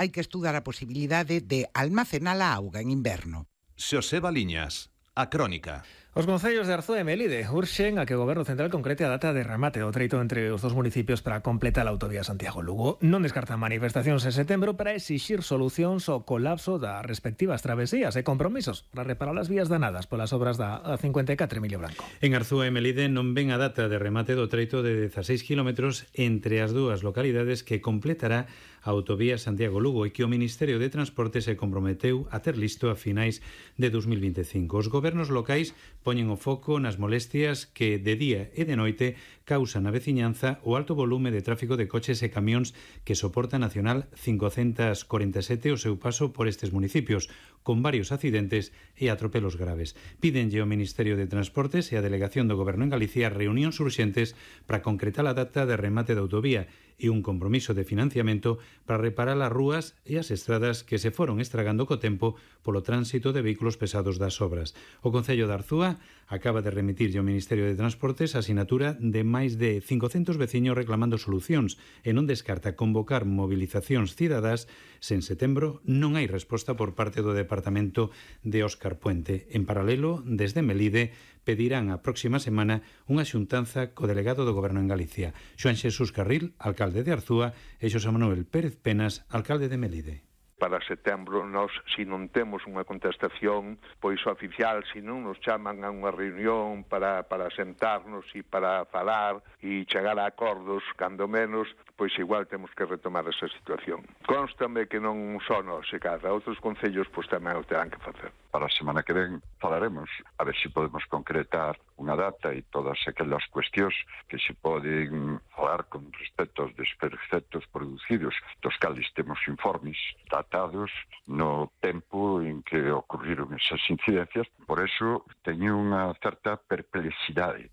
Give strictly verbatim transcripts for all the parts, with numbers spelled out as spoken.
hai que estudar a posibilidade de almacenar a auga en inverno. Xosé Baliñas, A Crónica. Os concellos de Arzúa e Melide urxen a que o Goberno Central concrete a data de remate do treito entre os dos municipios para completar a autovía Santiago-Lugo. Non descartan manifestacións en setembro para exixir solucións ao colapso das respectivas travesías e compromisos para reparar as vías danadas polas obras da A cincuenta e catro Emilio Branco. En Arzúa e Melide non ven a data de remate do treito de dezaseis kilómetros entre as dúas localidades que completará a autovía Santiago-Lugo e que o Ministerio de Transporte se comprometeu a ter listo a finais de dos mil vinte e cinco. Os gobernos locais poñen o foco nas molestias que de día e de noite causan na veciñanza o alto volume de tráfico de coches e camións que soporta a Nacional cincocentos corenta e sete o seu paso por estes municipios, con varios accidentes e atropelos graves. Pídenlle ao Ministerio de Transportes e a Delegación do Goberno en Galicia reunións urxentes para concretar a data de remate da autovía e un compromiso de financiamento para reparar as rúas e as estradas que se foron estragando co tempo polo tránsito de vehículos pesados das obras. O Concello de Arzúa acaba de remitirlle ao Ministerio de Transportes a sinatura de máis de cincocentos veciños reclamando solucións e non descarta convocar movilizacións cidadás se en setembro non hai resposta por parte do Departamento de Óscar Puente. En paralelo, desde Melide, pedirán a próxima semana unha xuntanza co delegado do Goberno en Galicia, Xoán Xesús Carril, alcalde de Arzúa, e Xosé Manuel Pérez Penas, alcalde de Melide. Para setembro, nós, se non temos unha contestación pois oficial, se non nos chaman a unha reunión para, para sentarnos e para falar e chegar a acordos, cando menos, pois igual temos que retomar esa situación. Constame que non só nós, e cada outros concellos pois tamén o terán que facer. Para a semana que ven falaremos a ver se podemos concretar unha data e todas aquelas cuestións que se poden falar con respecto aos desperfectos producidos, dos cales temos informes datados no tempo en que ocurriron esas incidencias. Por eso teño unha certa perplexidade.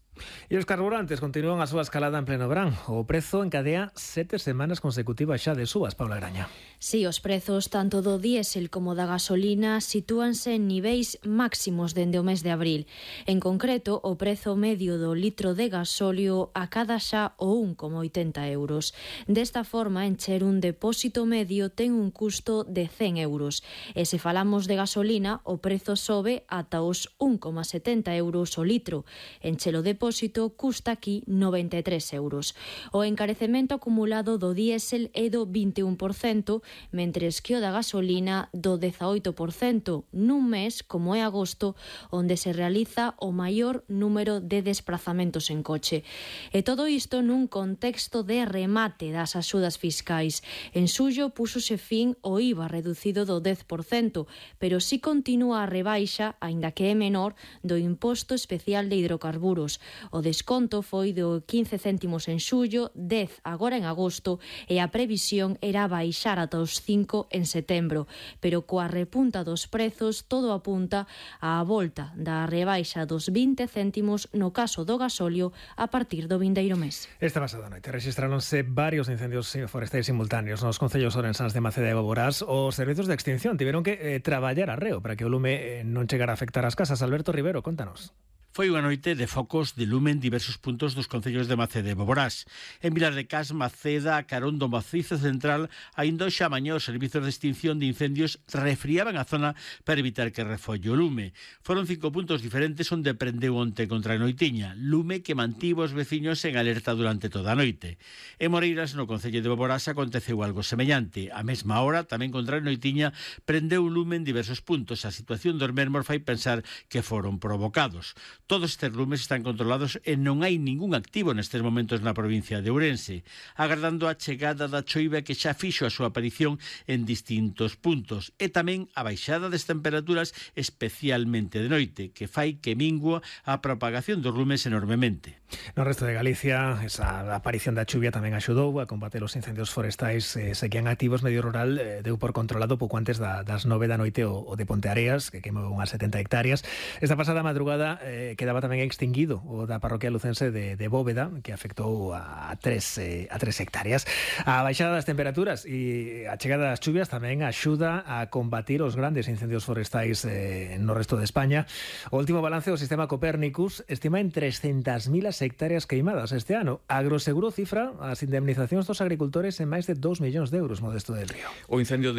E os carburantes continúan a súa escalada en pleno verán. O prezo encadea sete semanas consecutivas xa de subas, Paula Graña. Si, sí, os prezos tanto do diésel como da gasolina sitúanse en niveis máximos dende o mes de abril. En concreto, o prezo medio do litro de gasóleo acada xa o un coma oitenta euros. Desta forma, encher un depósito medio ten un custo de cen euros. E se falamos de gasolina, o prezo sobe ata os un coma setenta euros o litro. Encher o depósito custa aquí noventa e tres euros. O encarecemento acumulado do diésel é do vinte e un por cento, mentres que o da gasolina do dezaoito por cento, nun mes, como é agosto, onde se realiza o maior número de desplazamentos en coche. E todo isto nun contexto de remate das axudas fiscais. En xullo púxose fin o I V A reducido do dez por cento, pero si continúa a rebaixa, aínda que é menor, do imposto especial de hidrocarburos. O desconto foi do quince céntimos en xullo, dez agora en agosto e a previsión era baixar ata os cinco en setembro. Pero coa repunta dos prezos todo apunta á volta da rebaixa dos vinte céntimos no caso do gasóleo a partir do vindeiro mes. Esta pasada noite rexistráronse varios incendios forestais simultáneos nos concellos orensáns de Maceda e Boborás. Os servizos de extinción tiveron que eh, traballar arreo para que o lume eh, non chegara a afectar as casas. Alberto Rivero, contanos. Foi unha noite de focos de lume en diversos puntos dos concellos de Maceda e Boborás. En Vilar de Cas, Maceda, a carón do Macizo Central, aínda hoxe a mañá os servizos de extinción de incendios refriaban a zona para evitar que refolle o lume. Foron cinco puntos diferentes onde prendeu onte contra a noitiña, lume que mantivo os veciños en alerta durante toda a noite. En Moreiras, no concello de Boborás, aconteceu algo semellante. A mesma hora, tamén contra a noitiña, prendeu o lume en diversos puntos. A situación dos mesmos fai pensar que foron provocados. Todos estes lumes están controlados e non hai ningún activo nestes momentos na provincia de Ourense, agardando a chegada da choiva que xa fixo a súa aparición en distintos puntos e tamén a baixada das temperaturas, especialmente de noite, que fai que mingua a propagación dos lumes enormemente. No resto de Galicia, esa aparición da chuvia tamén axudou a combater os incendios forestais eh, seguían activos. Medio Rural eh, deu por controlado pouco antes da, das nove da noite o, o de Ponteareas, que queimou unhas setenta hectáreas. Esta pasada madrugada eh, quedaba tamén extinguido o da parroquia lucense de, de Bóveda, que afectou a tres, eh, a tres hectáreas. A baixada das temperaturas e a chegada das chuvias tamén axuda a combatir os grandes incendios forestais eh, no resto de España. O último balance do sistema Copérnicus estima en trescentas mil as trescentas hectáreas queimadas este ano. Agroseguro cifra as indemnizacións dos agricultores en máis de dous millóns de euros, Modesto del Río. O incendio de